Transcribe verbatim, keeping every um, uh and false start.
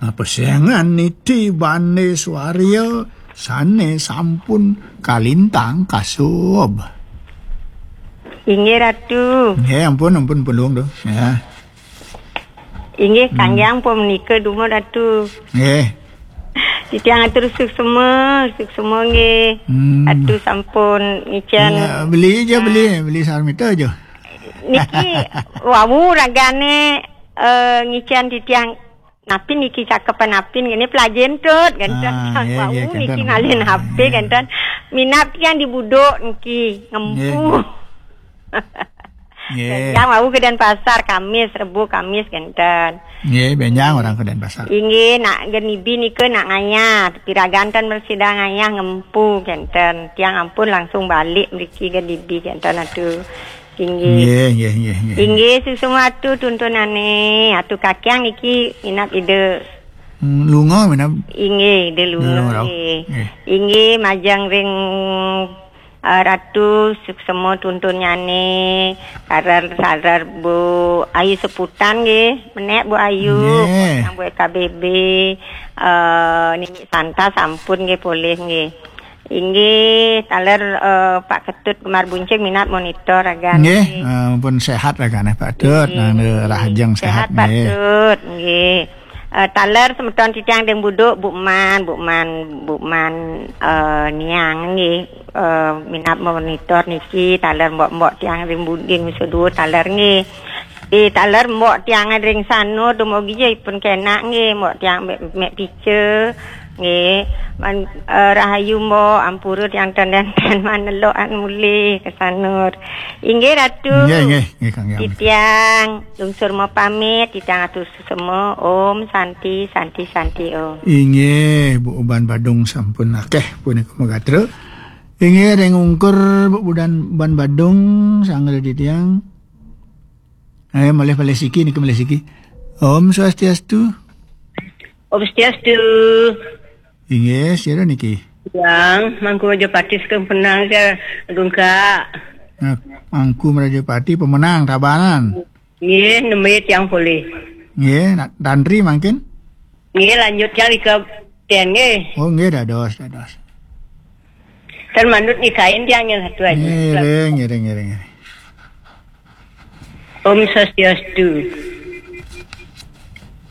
Nah, pesengan niti bane swarya sane sampun kalintang kasub. Inggih, Ratu. Nggih, ampun, ampun, pun Luung, to. Ya. Inggih, hmm. Kangge ampun menika dumun, Ratu. Nggih. Titiang atur suksema, suksema nggih. Hmm. Ratu sampun ngicen. Ya, beli aja, beli, beli sarmita aja. Niki wau ragane, eh, ngicen titiang napi niki cakepan napin ngene pelajen tut, genten. Ah, nggih, wau nggih, niki kenten. Ngalih H P, nggih. Genten. Minab titiang di buduk niki ngempu. Nggih. Nggih. Yang wau ke Denpasar Kamis, Rebo Kamis genten. Nggih, benjang orang ke Denpasar. Inggih, nak genibi nika nak ngayah, piragan ten bersida ngayah ngempu genten. Tiang ampun langsung balik mriki genibi genten atu. Inggih. Nggih, nggih, nggih, nggih. Inggih, suksema atu tuntunane. Atu kakiang niki inap ida. Hmm, lunga minab. Inggih, ida lunga, lunga rauh. Nggih. Nggih. Inggih, majeng ring, eh, Ratu suksema tuntunnyane, taler, taler Bu Ayu Seputan nggih, menek Bu Ayu, nggih. Yang Bu K B B, eh, Nini Santa sampun nggih polih nggih. Inggih, taler, eh, Pak Ketut Gemar Buncing minat monitor ragan. Nggih, nggih. Eh, pun sehat ragane Pak Tut, nggih, nang nggih. Rahajeng sehat, sehat Pak nggih. Tut, nggih. Eh, taler semeton titiang deng buduk, Bu Man, Bu Man, Bu Man, eh, Niang nggih. Eh, minat monitor niki, taler mbok-mbok tiang ring budin sedua taler nggih. Di taler mbok tiang ring sanu dumugi ja ipun kenak nggih, mbok tiang mek, mek pica. Nggih, man, eh, rahayu mbok, ampura tiang ten-ten manelok an mulih ke sanur. Inggih, Ratu. Nggih, nggih, nggih, Kang Yang. Titiang lungsur mau pamit, titiang atur sesama. Om Santi, Santi, Santi, Om. Inggih, Bu Uban Badung sampun akeh punika magatra. Inggih, ring ungkur Bu Budan Ban Badung, sanggra titiang. Ayo, malih, malih siki, niki malih siki. Om Swastiastu. Om Swastiastu. Inggih, sira niki? Yang Mangku Rajapati saking Penang, saya Agung Kak. Nah, Mangku Rajapati pemenang Tabanan. Nggih, nembe tiang polih. Nggih, nak tantri mangkin? Nggih, lanjut tiang ika ten nggih. Oh, nggih, dados, dados. Kan manut nikain tiang yang satu aja. Ngiring, ngiring, ngiring, ngiring. Om Swastiastu.